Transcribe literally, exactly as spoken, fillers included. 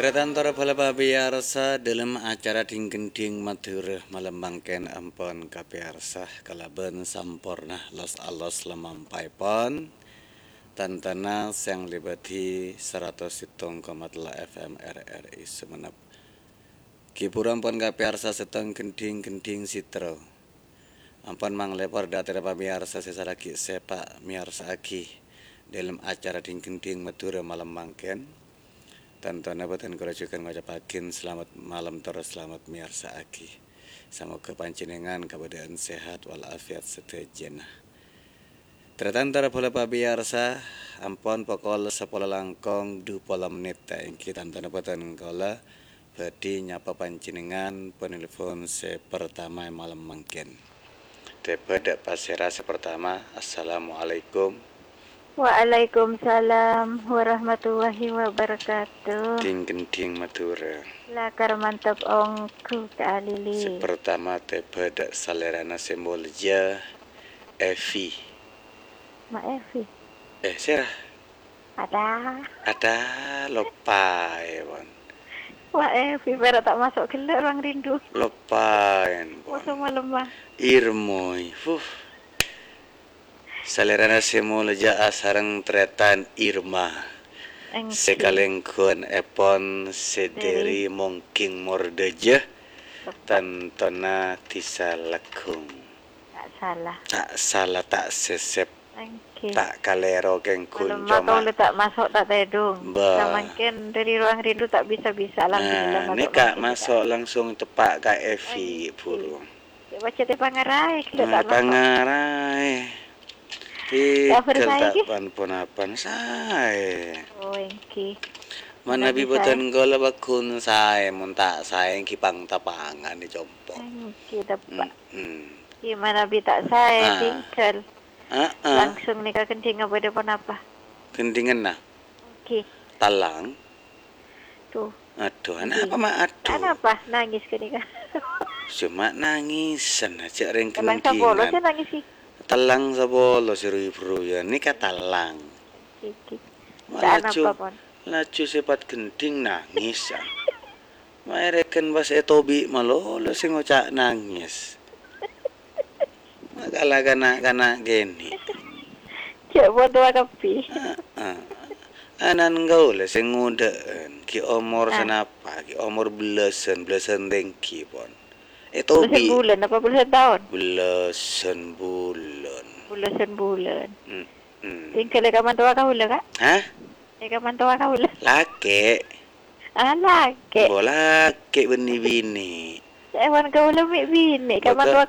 Tarètan torè bhâlâ pamèyarsa, dâlem acara Dhing-Ghendhing Madhurâ malem mangkèn ampon kapèyarsa kalabân samporna los-alos lamampaèpon. Tantana sè ngalèbâdhi saratos sèttong koma tello F M R R I Sumenep. Ghi bhuru ampon kapèyarsa sèttong ghendhing-ghendhing sèttro. Ampon manglèpor dâ' atèra pamèyarsa sè salaghi sèpa' mèyarsa'aghi dâlem acara Dhing-Ghendhing Madhurâ malem mangkèn. Tantona bhâdhân kaulâ jhughân ngocapaghina salamet malem tor salamet mèyarsa'aghi. Samoghâ panjhennengngan kabâdâ'ân sehat wal afiat sadhâjâna. Tarètan torè bhâlâ pamèyarsa, ampon pokol sapolo langkong dupolo mennit, èngghi tantona bhâdhân kaulâ bhâdhi nyapa panjhennengngan penelpon sè pertama è malem mangkèn. Tèbâ dâ' pasèra sè pertama. Assalamualaikum. Waalaikumsalam warahmatullahi wabarakatuh. Dhing-ghendhing Madhurâ. Lakar mantep ongghu, Kak Alili. Sè pertama tèbâ dâ' salèrana sè molja, Evi. Ma' Evi. Eh, sèra? Ada. Ada, loppaè, pon. Wa' Evi, pèra' ta' maso' ghellâ' ruang rindu. Loppaè, pon. Masa malemma. Irmoy, huh. Salèrana sè molja asareng tarètan Irma. Èngghi. Sè kalèngghuwân èpon sè Dèri. Dèri Mongking Mordâjâ, Tepat. Tantona Dhisa Leggung. Ta' sala. Ta' sala, ta' sèsèp. Èngghi. Ta' kalèro kèng ghun. Malemma coma kaulâ ta' maso' ta' tèdung. Bâ. Samangkèn dâri ruang rindu ta' bisa-bisa, alhamdulillah, nah, maso' nèka mangkèn maso' langsung teppa' ka Evi, èngghi. Buru. Cè' pajhât èpangaraè, ghellâ' ta' maso'. Èpangaraè. Kabar saè, ta' ghi? Pan-ponapan saè. Oh, èngghi. Manabi bhâdhân kaulâ pagghun saè, mon ta' saè èngghi pang-tapangan è compo'. Èngghi, teppa'è. Mm-mm. Gimana bi' ta' saè, ah, tinggal. Ah, ah. Langsung nèka ghendhingnga bâdâ ponapa? Ghendhingnga? Oke. Tallang. Tuh. Aduh, anapa, Ma'? Aduh. Anapa nangis kènè, Kak? Cuma nangisan aja rèng ghendhingan. Tallang sapolo sè nangis, sih. Tallang sapolo sè ruyu-ruyan. Nèka tallang. Oke, oke. Ma' laju, anapa, Pon? Laju sèpat ghendhing nangis, ah. Maèrèken pas ètobi' malolo sè ngoca' nangis. Makala kana'-kana' kènè'. Cè' potowa kabbhi. Heeh. Anan kaulâ sè ngodâ'ân, ghi' omor sanapa, ghi' omor bellâsân, bellâsân tèngghi, Pon. Ètobi'. Bellâsân bulân apa bellâsân taon? Bellâsân bulân. Bellâsân bulân. Mm-mm. Tinggal è kamantowa kaulâ, Kak? Hah? È kamantowa kaulâ. Lakè'. Ah, lakè'. Bo lakè' bânnè binè'. Èwan kaulâ mè' binè', kamantowa